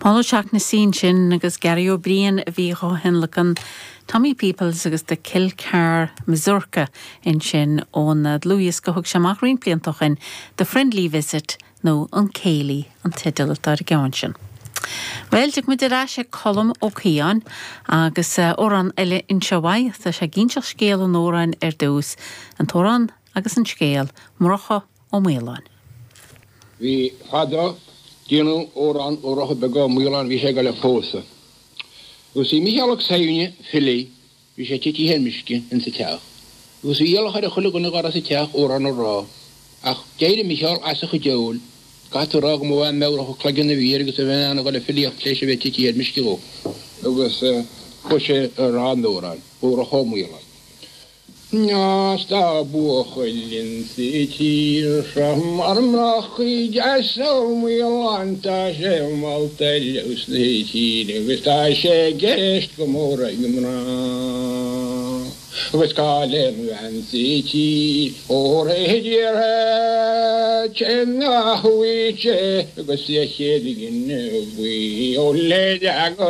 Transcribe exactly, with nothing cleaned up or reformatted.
Paul O'Shaughnessy sin agus Gary Ó Briain a bhí á thionlacan Tommy Peoples agus the Kilcar Mazurka ansin ón dlúthdhiosca a thug sé amach roinnt blianta ó shin The Friendly Visit nó an Céilí an teideal atá ar an gceann sin. Well tiocfaimid ar ais ag Colm Ó Cianáin agus amhrán eile anseo uaidh tá sé ag inseacht scéal an amhráin ar dtús an t-amhrán agus an scéal Murchadh Ó Maoláin. Bhí fadó déanamh amhrán ó Mhurchadh Beag Ó Maoláin bhí sé ag dul a phósadh. Agus bhí Micheál Ó Suibhne file, bhí sé titithe ar meisce insa teach. Agus bhí iallach ar chuile dhuine dá raibh sa teach amhrán a rá, ach d'éirigh Micheál as a chuid óil, caithfidh tú a rá go mba meabhrach a chloigeann a bhí air agus a bheith in ann a dhul a filíocht tar éis a bheith titithe ar meisce dhó. Agus chuaigh sé ag rá an amhráin, Murchadh Ó Maoláin. Is tá buachaill insa tír seo mar Murchadh deas Ó Maoláin tá sé molta ar fheabhas na tíre agus tá sé i gceist go mór ag na mná. Agus cáil ar an bhean sa tír ó réidh nach bhfuil sé agus a chéad gine buí ó le